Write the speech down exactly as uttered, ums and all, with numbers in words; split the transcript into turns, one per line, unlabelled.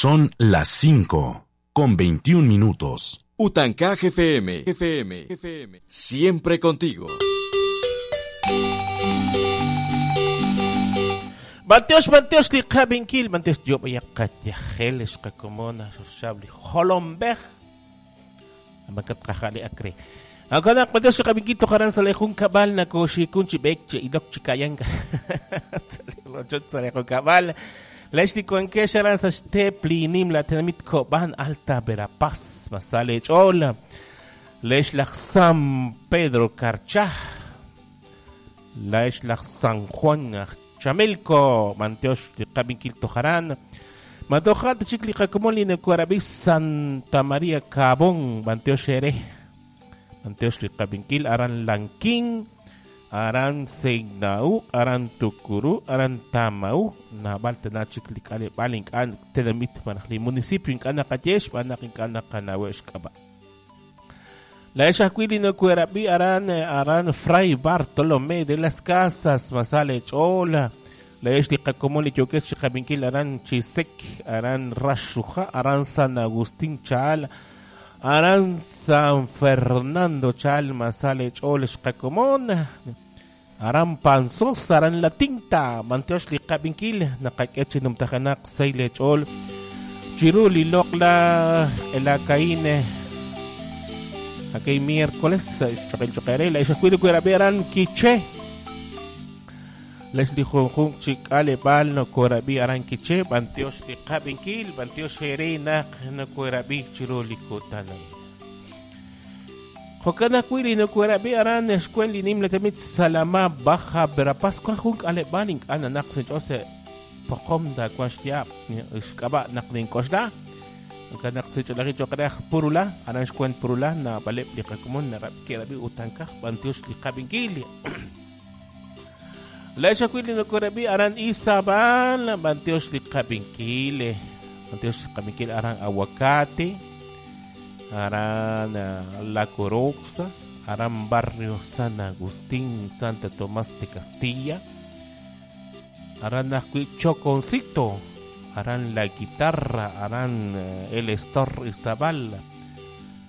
Son las cinco con veintiún minutos.
Utancaj F M, F M, F M, siempre contigo.
Manteos, manteos, li qabinkil, manteos, yo voy a katyajeles, kakomona, sosabli, jolombej. Amakat kajali akre. Agana, manteos, qabinkil, tokaran salejun kabal, nakoshikun chibek, che ilok chikayanka. Salejun kabal. Leshli kuankesharan sa xteplinim la tenamit koban alta Verapaz, masale chola. Leshlach San Pedro Carchá. Leshlach San Juan Chamelco, manteos qabinkil tojaran. Matojat chikli qakomoli nekuarabi Santa María Cabón, manteos xere. Manteos qabinkil aran Lanquín, aran Seignau, aran Tucuru, aran Tamau, nabal tena chikli kale balink an tenamit manajli municipio inkana qayesh banak inkana qanawesh kaba. La Eshaquili no cuerabi aran aran Fray Bartolomé de las Casas masale chola. La Eshli Yokesh Jabinkil aran Chisek, aran Rashuja, aran San Agustín Chal, aran San Fernando Chal, masale chol Xcacomón, aran Panzos, aran La Tinta, Manteoshli Jabinkil, Nakakechi Numtajanak, Seile Chol, Chiruli Lokla, Elacaine. Aquel miércoles, choquel choquere, la Eshaquili cuerabi aran Quiché. Leslie Junjun Chikale Bal no Corabi aran Quiché, Banteos de Cabinkil, Banteos Jerena, no Corabi Chiroli Kotana. Jocana Quiri no Corabi aran Escueli Nimletemit Salama Baja Verapaz, Cuajunk Ale Balink, Ananak Jose Pocom da Cuashtia, Escaba Naklin Koshda. Kanak se cholari chokraj purula, aran xkuen purula, na balep liqakumon, na rabkerabi utankaj, bantios liqabinkili. La Eshaquili no korabi aran Izabal, bantios liqabinkile. Bantios liqabinkil aran aguacate, aran La Coroxa, aran Barrio San Agustín, Santa Tomás de Castilla, aran Ajui Choconcito, harán la guitarra, harán el Estor Izabal,